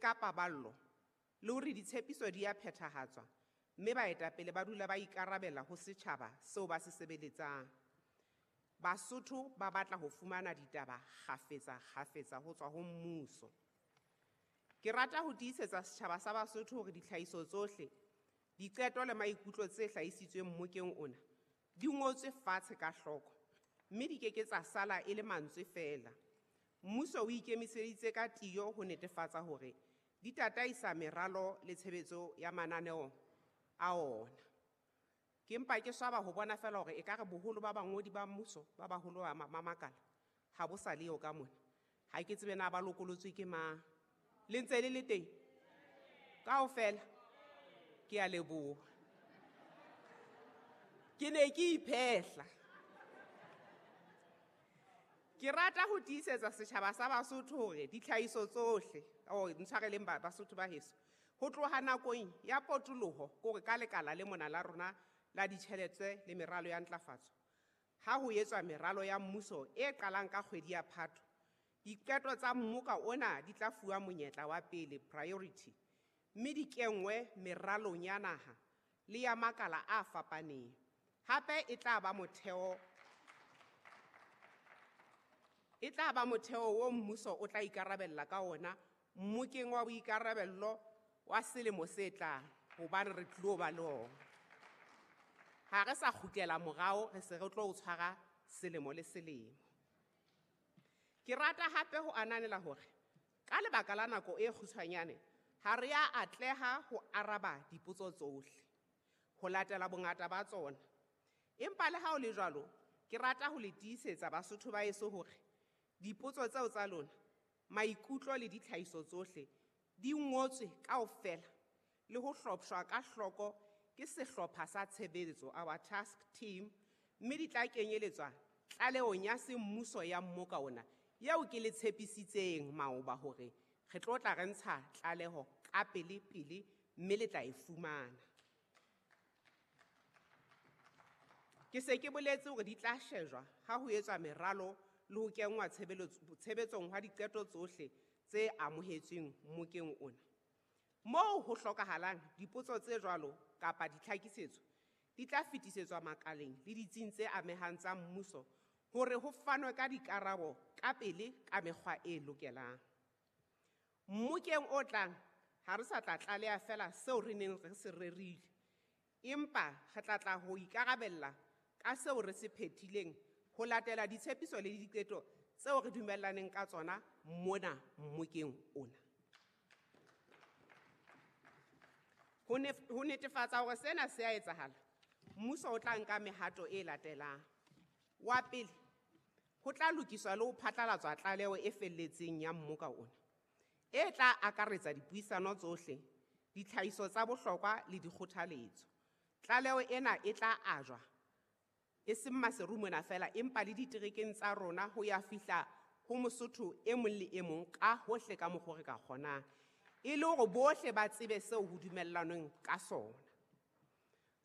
ka paballo le hore ditshepiso di a phethahatswa mme baetapele ba dula ba ikarabella ho setjhaba seo ba se sebeletsang. Basotho ba batla ho fumana ditaba kgafetsa kgafetsa ho tswa ho mmuso. Ke rata ho tiisetsa setjhaba sa Basotho hore ditlhahiso tsohle, diqeto le maikutlo tse hlahisitsweng mmokeng ona di ngotswe fatshe ka hloko mme di ke ke tsa sala e le mantswe feela. Mmuso o ikemiseditse ka tiyo ho netefatsa hore di tataisa meralo le tshebetso ya mananeo a ona. Ke mpa ke swaba ho bona feela hore ekare boholo ba bangodi ba mmuso ba baholo ba makala ha bo sa leyo ka mona. Ha ke tsebe na ba lokolotswe ke mang. Le ntse le le teng? Kaofela? Ke a leboha. Ke ne ke iphehla. Ke rata ho tiisetsa setjhaba sa Basotho hore ditlhahiso tsohle, oh, ntshwareleng Basotho ba heso, ho tloha nakong ya potoloho, kore ka lekala le mona la rona la ditjhelete le meralo ya ntlafatso, ha ho etswa meralo ya mmuso e qalang ka kgwedi ya Phato, diqeto tsa mmoka ona di tla fuwa monyetla wa pele, priority, mme di kenngwe meralong ya naha le ya makala a fapaneng. Hape e tla ba motheo e tla ba motheo wo mmuso o tla ikarabella ka ona mmokeng wa boikarabello wa selemo se tlang, hobane re tlilo ba le ona. Ha re sa kgutlela morao, re se re tlo o tshwara selemo le selemo. Ke rata hape ho ananela hore ka lebaka la nako e kgutshwanyane ha re a atleha ho araba dipotso tsohle ho latela bongata ba tsona. Empa le ha ho le jwalo, ke rata ho le tiisetsa Basotho ba heso hore dipotso tseo tsa lona, maikutlo le ditlhahiso tsohle di ngotswe kaofela le ho hlopshwa ka hloko ke sehlopha sa tshebetso, our task team, mme di tla kenyeletswa tlalehong ya semmuso ya mmoka ona eo ke le tshepisitseng maoba hore re tlo tla re ntsha tlaleho ka pele pele mme le tla e fumana. Ke se ke boletse hore di tla shejwa ha ho etswa meralo le ho kenngwa tshebetsong hwa diqeto tsohle tse amohetsweng mmokeng ona. Moo ho hlokahalang, dipotso tse jwalo kapa ditlhakisetso di tla fetisetswa makaleng le ditsing tse amehang tsa mmuso hore ho fanwe ka dikarabo ka pele ka mekgwa e lokelang. Mmokeng o tlang ha re sa tla tlaleha feela seo re neng re se rerile, empa re tla tla ho ikarabella ka seo re se phethileng ho latela ditshepiso le diqeto tseo re dumellaneng ka tsona mona mmokeng ona. Ho netefatsa hore sena se a etsahala, mmuso o tla nka mehato e latelang. Wa pele, ho tla lokiswa le ho phatlalatswa tlaleho e felletseng ya mmoka ona, e tla akaretsa dipuisano tsohle, ditlhahiso tsa bohlokwa le dikgothaletso. Tlaleho ena e tla ajwa e seng Maseru mona feela, empa le diterekeng tsa rona ho ya fihla ho Mosotho e mong le e mong ka hohle ka mokgwa re ka kgonang, e le hore bohle ba tsebe seo ho dumellanweng ka sona.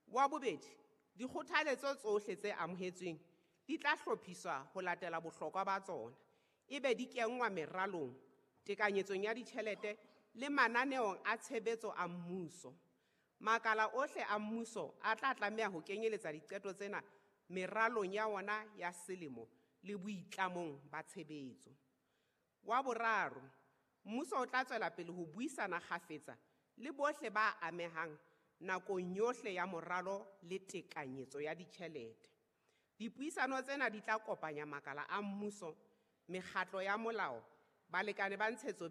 Wa bobedi, dikgothaletso tsohle tse amohetsweng di tla hlophiswa ho latela bohlokwa ba tsona, ebe di kenngwa meralong, tekanyetsong ya ditjhelete le mananeong a tshebetso a mmuso. Makala ohle a mmuso a tla tlameha ho kenyeletsa diqeto tsena meralong ya ona ya selemo le boitlamong ba tshebetso. Wa boraro, mmuso o tla tswela pele ho buisana kgafetsa le bohle ba amehang nakong yohle ya moralo le tekanyetso ya ditjhelete. Dipuisano tsena di tla kopanya makala a mmuso, mekgatlo ya molao, balekane ba ntshetsopele